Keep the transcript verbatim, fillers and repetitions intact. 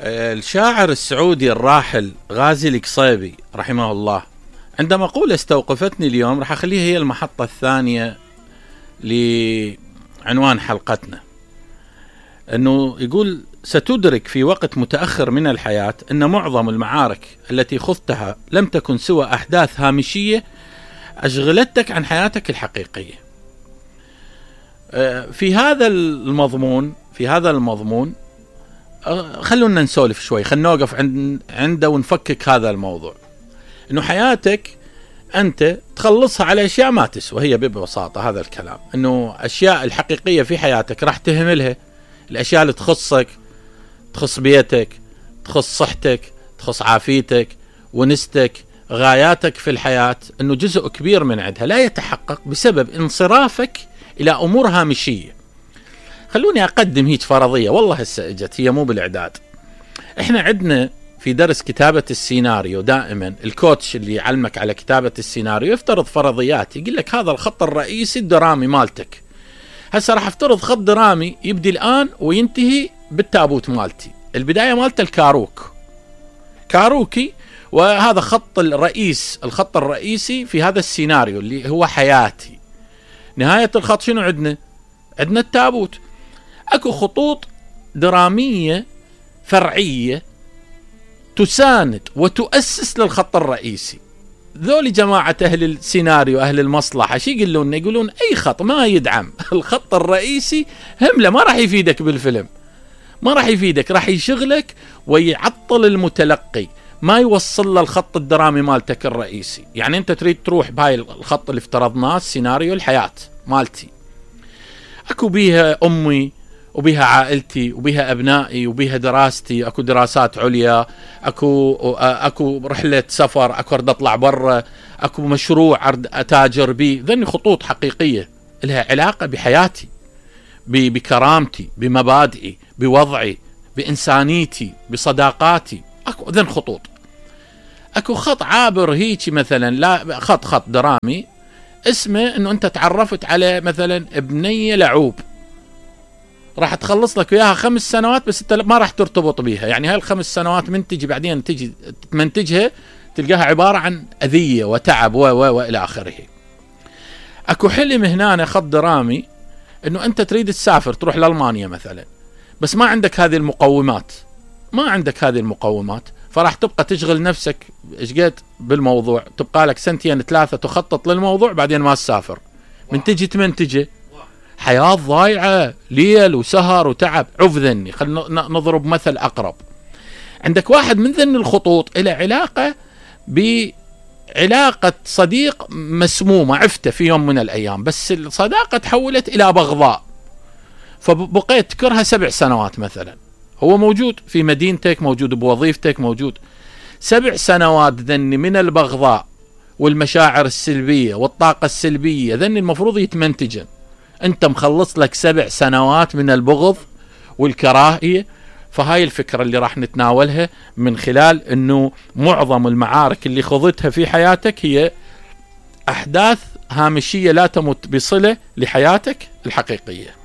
الشاعر السعودي الراحل غازي القصيبي رحمه الله عندما مقولة استوقفتني اليوم، راح أخليها هي المحطة الثانية لعنوان حلقتنا. أنه يقول: ستدرك في وقت متأخر من الحياة أن معظم المعارك التي خضتها لم تكن سوى أحداث هامشية أشغلتك عن حياتك الحقيقية. في هذا المضمون في هذا المضمون خلونا نسولف شوي، خلنا نوقف عند عنده ونفكك هذا الموضوع. انه حياتك انت تخلصها على اشياء ما تسوى، هي ببساطة هذا الكلام. انه اشياء الحقيقية في حياتك راح تهملها، الاشياء اللي تخصك، تخص بيتك، تخص صحتك، تخص عافيتك، ونستك، غاياتك في الحياة، انه جزء كبير من عندها لا يتحقق بسبب انصرافك الى امور هامشية. خلوني أقدم هيك فرضية، والله هسه اجت هي مو بالإعداد. إحنا عندنا في درس كتابة السيناريو دائما الكوتش اللي يعلمك على كتابة السيناريو يفترض فرضيات، يقول لك هذا الخط الرئيسي الدرامي مالتك. هسه راح افترض خط درامي يبدي الآن وينتهي بالتابوت مالتي. البداية مالته الكاروك كاروكي، وهذا خط الرئيس الخط الرئيسي في هذا السيناريو اللي هو حياتي. نهاية الخط شنو عندنا؟ عندنا التابوت. اكو خطوط درامية فرعية تساند وتؤسس للخط الرئيسي. ذولي جماعة اهل السيناريو اهل المصلحة شي يقولون؟ يقولون اي خط ما يدعم الخط الرئيسي همله ما راح يفيدك بالفيلم، ما راح يفيدك، راح يشغلك ويعطل المتلقي، ما يوصل له الخط الدرامي مالتك الرئيسي. يعني انت تريد تروح بهاي الخط اللي افترضناه السيناريو الحياة مالتي، اكو بيها امي وبيها عائلتي وبيها ابنائي وبيها دراستي، اكو دراسات عليا، اكو اكو رحلة سفر، اكو ارد اطلع برا، اكو مشروع ارد اتاجر بيه. ذني خطوط حقيقية لها علاقة بحياتي، بكرامتي، بمبادئي، بوضعي، بإنسانيتي، بصداقاتي. اكو ذن خطوط. اكو خط عابر هيك مثلا، لا خط خط درامي اسمه انه انت تعرفت على مثلا ابنية لعوب، راح تخلص لك وياها خمس سنوات بس انت ما راح ترتبط بيها. يعني هاي الخمس سنوات من تجي بعدين تجي تمنتجها تلقاها عبارة عن أذية وتعب و و والى اخره. اكو حلم هنا خط درامي انه انت تريد تسافر تروح لألمانيا مثلا، بس ما عندك هذه المقومات، ما عندك هذه المقومات، فراح تبقى تشغل نفسك اشقد بالموضوع، تبقى لك سنتين ثلاثة تخطط للموضوع بعدين ما تسافر. من تجي تمنتجه حياة ضايعة، ليل وسهر وتعب. عف ذني، خلنا نضرب مثل أقرب. عندك واحد من ذن الخطوط إلى علاقة بعلاقة صديق مسمومة عفته في يوم من الأيام، بس الصداقة تحولت إلى بغضاء، فبقيت تكرها سبع سنوات مثلا. هو موجود في مدينتك، موجود بوظيفتك، موجود سبع سنوات ذني من البغضاء والمشاعر السلبية والطاقة السلبية، ذني المفروض يتمنتجن. انت مخلص لك سبع سنوات من البغض والكراهية. فهاي الفكرة اللي راح نتناولها من خلال انه معظم المعارك اللي خضتها في حياتك هي احداث هامشية لا تمت بصلة لحياتك الحقيقية.